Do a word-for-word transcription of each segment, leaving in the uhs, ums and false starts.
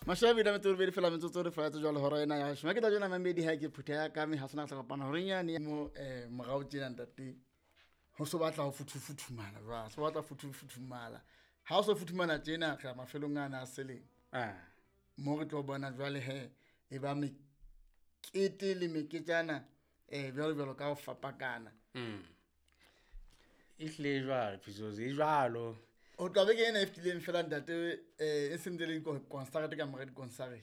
Mashabi da metso robedi fela metsotso re fela jwale hora ena ya shoma ke tla jona mamedi ha ke phutheha ka me ha sona tla kopana hore nyane mo eh morao tjena ntate ho so batla ho futhufuthumala jwa so batla futhufuthumala ha o so futhumala tjena re mafelong ana a seleng ah mo re tlo bona jwale he e ba mekete le meketjana eh jwalo jwalo ka ho fapakana mm e hle jwalo phisozi e jwalo o tla be ke ena e fetileng fela ntate eh e sentse le concert ka mora di-concert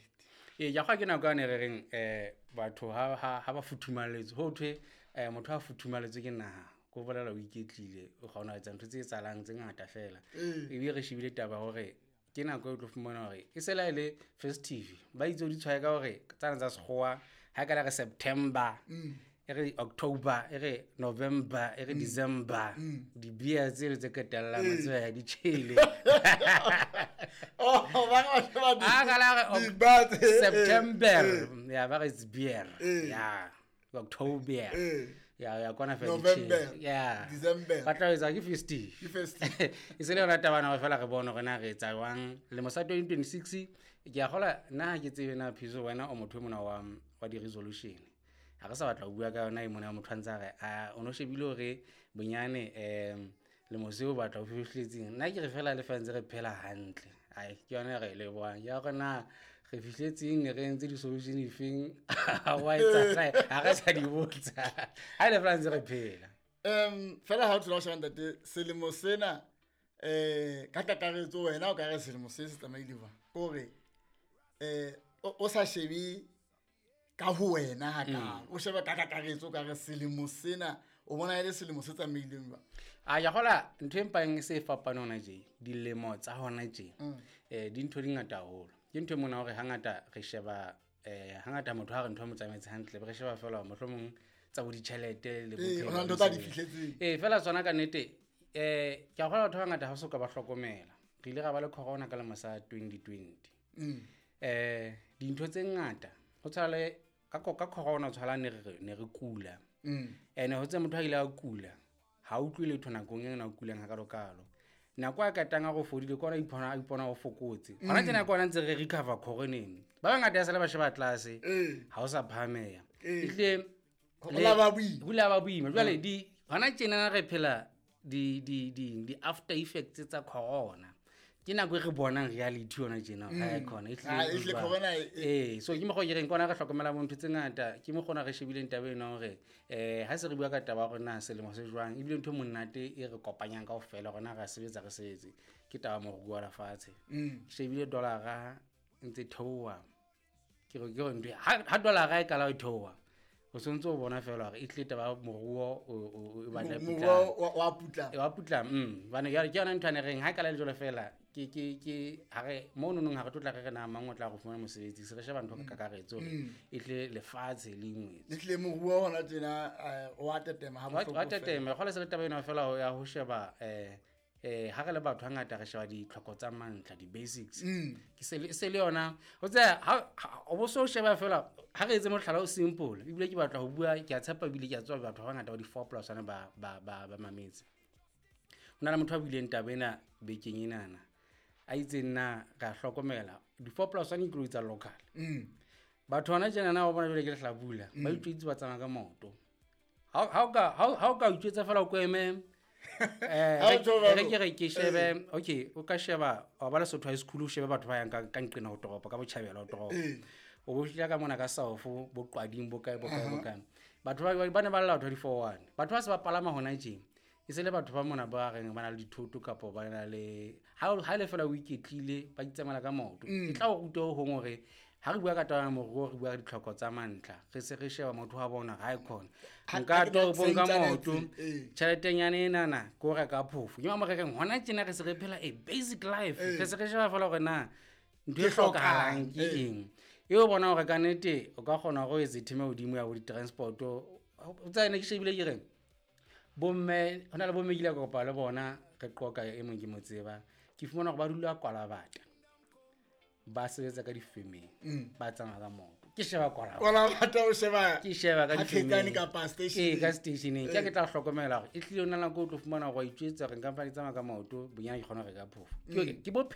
ee ya gwa ke nako yane re reng um batho ha ha ha ba futhumaletswe ho thwe um motho ha futhumaletswe ke naha ko bolela o iketlile o kgona ho etsa ntho tse etsahalang tse ngata fela ebile re shebile taba hore ke nako e o tlo fumana hore e se la e le festive ba itse o di tshwaye ka hore tsana tsa sekgowa ha ka la re September e re October e re November e re December di-beer tsele tse qetellang wa tseba di tjhele oh ba ba ba a ka la re di ba tse- September eh, ya ba re it's beer Eh. ya October Eh. ya ya kona fela di November, tjhele. ya December. ba tla etsa ke festive Ke festive. e se le yona tabana hore fela re bone hore na re etsa jwang lemo sa twenty twenty-six ke a kgola nna ha ke tsebe na phiso wena o motho e mona wa wa di-resolution ha re sa batla ho bua ka yona e mona motho a ntse a re a o no shebile hore bonyane um lemo seo o batla ho fihletseng nna ke re fela le fa ntse re phela hantle ai ke yona e re e lebohang ya hore na re fihletseng ne re entse di-solution efeng ha wa etsahala ha re sa di botsa ha e le fela ntse re phela um fela ha o thola o sheba ntate selemo sena eh ka kakaretso wena o ka re selemo se se tsamaile jwang kore eh o o sa shebe ka ho wena hakalo o sheba ka kakaretso o ka re selemo sena o bona e le selemo se tsamaileng jwang a ya gola ntho e mpang e se e fapane hona tje dilemo tsa hona tje eh dintho di ngata haholo ke ntho e mona hore hangata re sheba eh hangata motho ha re ntho e mo tsamaetse hantle be re sheba fela hore mohlomong tsa bo ditjhelete le Ee, bophelo ho na le le ntho tsa di mosebetsi. fihletseng. ee fela tsona ka nnete eh ke a kgolwa batho ba bangata ha so ka ba hlokomela re ile ra ba le corona ka lemo sa twenty twenty eh dintho tse ngata ho tshwana le ka ko- ka corona tshwana ne re ne re kula ene ho tse motho a ile a kula ha utlwe letho nakong e na kulang hakalokalo nako a katang a go fodile ke ona a ipona a ipona o fokotse hona tjena ke ona ntse re recover coroneng ba bangata ya sale ba sheba tlase Ee. ha o sa phahameha Ee. ehlile Ho le- la ba boima. ho la ba boima jwale di hona tjena re phela di di di di after effects tsa corona ke nako e re bonang reality yona tjena ha e khona e Ah, ehlile jwang. corona e- ee so ke mokgwa o ke reng ke ona re hlokomela bo ntho tse ngata ke mokgwa ona re shebileng taba ena hore um ha se re bua ka taba ya hore na selemo se jwang ebile ntho e monate e re kopanyang kaofela hore na re a sebetsa re sebetse ke taba ya moruo wa lefatshe Mm. ke shebile dollar-a ntse theoha ke re ke re ntho e- ha ha dollar-a e kala e theoha o sontse o bona fela hore e tlile taba ya moruo o- o o batla e moruo putlama. wa wa putlama E wa putlama mm hobane jwale ke yona ntho ane reng ha e kala le jwalo fela ke ke ke ha re mo nonong ha re tlo tla re re na mang o tla go fumana mosebetsi se re sheba ntho ka kakaretso hore e tle lefatshe le ingwetse le tlile moruo hona tjena eh, wa tetema ha wa bohloko wa fela. tetema kgola se le taba ena fela ya ho sheba eh eh ha re le batho hangata re sheba ditlhoko tsa mantlha di-basics ke se le- se le yona o tseba ha ha- o bo so sheba fela ha re etse mohlala o simple ebile ke batla ho bua ke a tshepa ebile ke a tseba batho ba bangata ba di-four plus one ba ba ba ba mametse ho na le motho a buileng taba ena bekeng enana a itseng na re a hlokomela di-four plus one dikoloi tsa local Mm. batho hona tjenana wa bona jwale ke lehlabula ba itjwetse ba tsamaya ka maoto ha ha o ka ha o- ha o ka itjwetsa fela o ko eme eh, Ha o re- tjho jwalo. re ke re ke shebe okay o ka sheba wa ba Lesotho High School o shebe batho ba yang ka ka nqena ho toropo ka botjhabela ho toropo Ee. o bo fihla ka mona ka south bo qwading bo kae bo kae bo kae batho ba ba ne ba lla batho ba di-four one batho ba se ba palama hona tje e se le batho ba mona ba reng ba na le dithoto kapo ba na le ha o- ha e le fela o iketlile ba itsamaela ka maoto e tla o ruta ho hong hore ha re bua ka taba ya moruo re bua ka ditlhoko tsa mantlha re se re sheba motho wa bona ha e khona Ha- nka ha ke na- toropong ka se maoto ntsanetse, ee. tjheletenyana enana ke ho reka phofo ke mo re reng hona tjena re se re phela a basic life re se re sheba fela hore na ntho e Ke hlokang, hlokahalang ke ee. eng e o bona hore ka nnete o ka kgona hore o etse theme hodimo ya bo di-transport-o o tseba ne ke shebile ke reng bomme ho na le bomme ke ile ka kopana le bona re qoqa e mong ke mo tseba ke fumana hore ba dula kwalabata ba sebetsa ka difemeng ba tsamaya ka maoto ke sheba kwalabata Kwalabata o sheba ke sheba ka ha difemeng. Thekane kapa station. Ee, ka stationeng ke ha ke tla hlokomela hore e tlile o na nako o tlo fumana hore wa itjwetsa hore nka mpa ke tsamaya ka maoto bonyane ke kgona ho reka phofo ke ke bophelo